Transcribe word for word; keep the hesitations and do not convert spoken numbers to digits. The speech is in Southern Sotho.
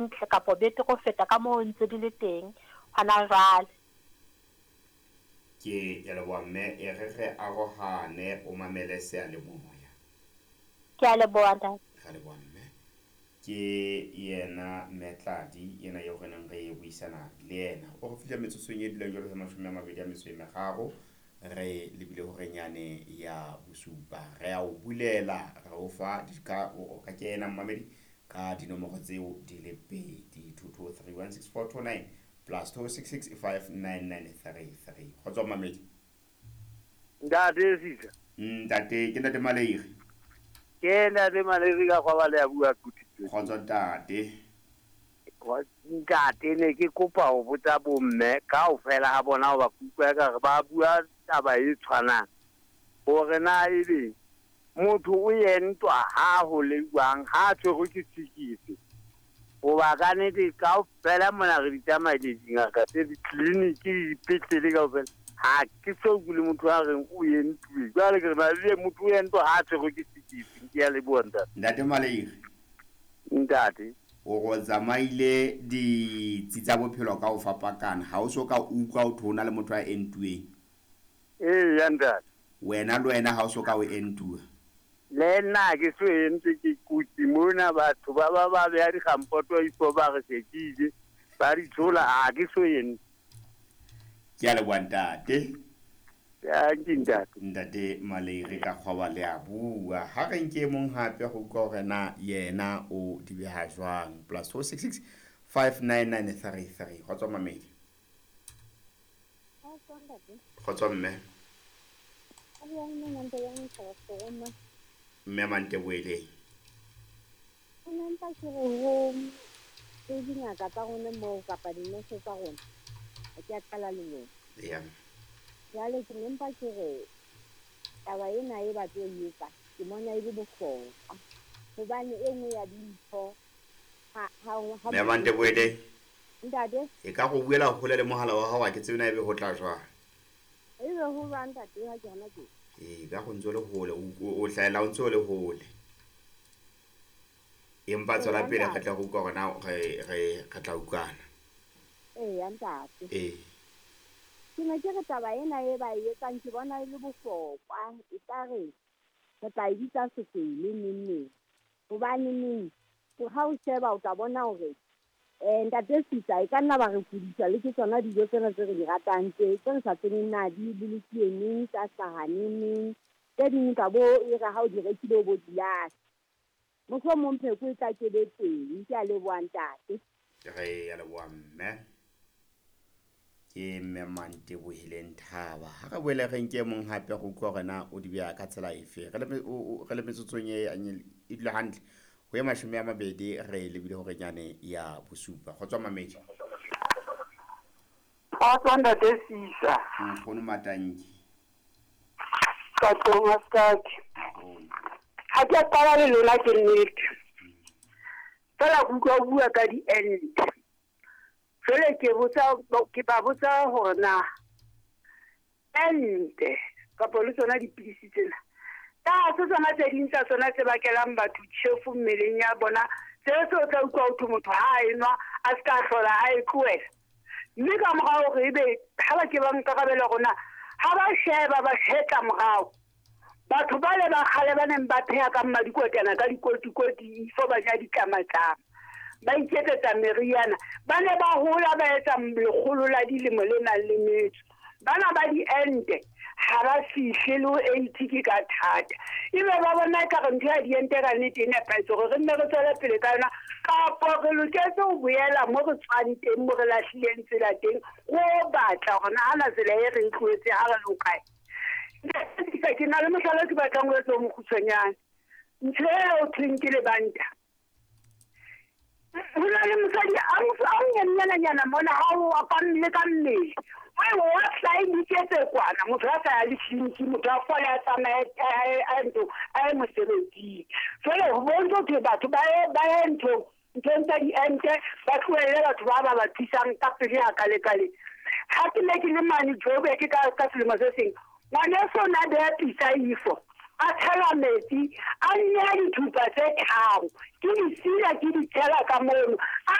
Hantle kapa betere ho feta ka moo ntse di le teng hona jwale. Ke ya leboha mme, e re re arohane o mamele seyalemoya. Ke a leboha ntate. Ra leboha mme. Ke yena mme Tladi ena eo re neng re buisana le yena. O re fihla metsotsong e dulang jwalo ka mashome a mabedi a metso e meraro. Re lebile horeng yane ya bosupa. Re a o bulela, re o fa ka o ka kena mmamedi ka dinomoro tseo di le pedi two two three one six four two nine plus two six six five nine nine three three. Kgotso mmamedi. Ntate Sisa. Ntate, ke ntate Maleiri. Ke ntate Maleiri ka kwa ba le a bua kuthi. Kgotso ntate. Ntate ne ke kopa ho botsa bomme kaofela ha bona ho ba kutlwa ka re ba bua taba e tshwanang. Hore na ebe motho o entwa ha ho le jwang ha tshwerwe ke tshikisi. Hoba ka nnete kaofela mona re di tsamaya dingaka tse ditleliniki le dipetlele kaofela. Ha ke so utlwe le motho a reng o entuwe. Jwale ke re na le motho o entwa ha tshwerwe ke tshikisi. Ke a leboha ntate. Ntate Maleiri. Ntate. O go tsamaile ditsi tsa bophelo ka ho fapakana. Ha o so ka utlwa ho thona le motho a entuweng. Ee, ya ntate. Wena le wena ha o so ka o entuwa. Le nna ke so entse ke kotsi mona batho ba ba ba beha dikgampoto ifo ba re sekile ba di tshola ha ke so entse. Ke a leboha ntate. Ya ke ntate. Ntate Maleiri ka kgwaba le a bua. Ha re nke mong hape go utlwa hore na yena o di beha jwang. Plus four six six five nine nine three three. Kgotso mamedi. Kgotso mme. Mme Manteboeleng. Nna mpa ke re ho tse dingaka tsa rona moo kapa dinese tsa rona. Ha ke a qala le lona. Yeah. Jwale ke ne mpa ke re taba ena e ba tlo e etsa ke bona e le bohlokwa. Hobane e nngwe ya dintho ha ha ha Mme Manteboeleng. Ntate. E ka go buela hole le mohala wa hao ha ke tsebe na ebe ho tla jwang. Ebe ho jwang ntate ha ke hona teng? E ka go ntse le hole o hlahela o ntse le hole. Empa tswela pele re tla go utlwa hore na re re re tla utlwana. Ee, ya ntate. Ee. Ke ne ke re taba ena e ba e etsang ke bona e le bohlokwa. E tla re re tla e bitsa sekele neng neng. Hobane neng ha o sheba o tla bona hore eh ntate Sisa e ka nna ba re kudisa le ke tsona dijo tsena tse re di ratang tse tse re sa tsebeng na di bolokilwe neng, tsa hlaha neng neng. Tse ding ka bo e re ha o di rekile o bo di lahla. Mohlomong pheko e tla ke be teng. Ke a leboha ntate. Re a leboha mme. Ke mme Mantebohileng Thaba. Ha re boele re nke mong hape go utlwa hore na o di beha ka tsela efe. Re le re le metsotsong e e dula hantle. Ho ya mashome a mabedi re lebile hore nyane ya bosupa. Kgotso mamedi. Kgotso ntate Sisa. Nkgono Matanki. Ka tlong a Skaki. Ha ke a qala le lona ke nnete. Fela ke utlwa o bua ka di-ente. Jwale ke botsa ke ba botsa hore na ente kapa le tsona dipidisi tsena. Ka se tsona tse ding tsa tsona tse bakelang batho tjhefu mmeleng ya bona, tseo tse o tla utlwa ho thwe motho ha a enwa a se ka hlola a e tlohela. Mme ka morao hore ebe ha ba ke ba nkarabela hore na ha ba sheba ba hetla morao. Batho ba le ba kgale ba neng ba pheha ka mmadikotana ka dikotikoti ifo ba ja ditlamatlama. Ba iketsetsa meriana. Ba ne ba hola ba etsa lekgolo la dilemo le nang le metso. Bana ba diente ha ba fihle le ho eighty ke ka thata. Ebe ba bona ekare ntho ya diente ka nnete e nepahetse hore re nne re tswele pele ka yona, kapo re loketse ho boela mo re tswang teng, mo re lahlileng tsela teng, ro batla hore na hana tsela e re e tlohetse ha re le hokae. Ke na le mohlala ke batlang ho etsa o mokgutshwanyane. Ntho eo thweng ke lebanta. Ho na le mosadi a monyenyana mona ha o ka le ka mmele. O wa tla iketse kwana motho a sa ya le tleliniki, motho a fole a tsamaye a ntho a ye mosebetsing. Jwale ho bontsha hore batho ba ye ba ye ntho nthong tsa diente ba tlohelle batho ba ba ba thusang ka pele hakalekale. Ha ke ne ke le mane Joburg ka ka selemo se seng, ngwaneso o ne a beha pitsa ifo a tshela metsi a nneha dithupa tse tharo ke di sila ke di tshela ka mono a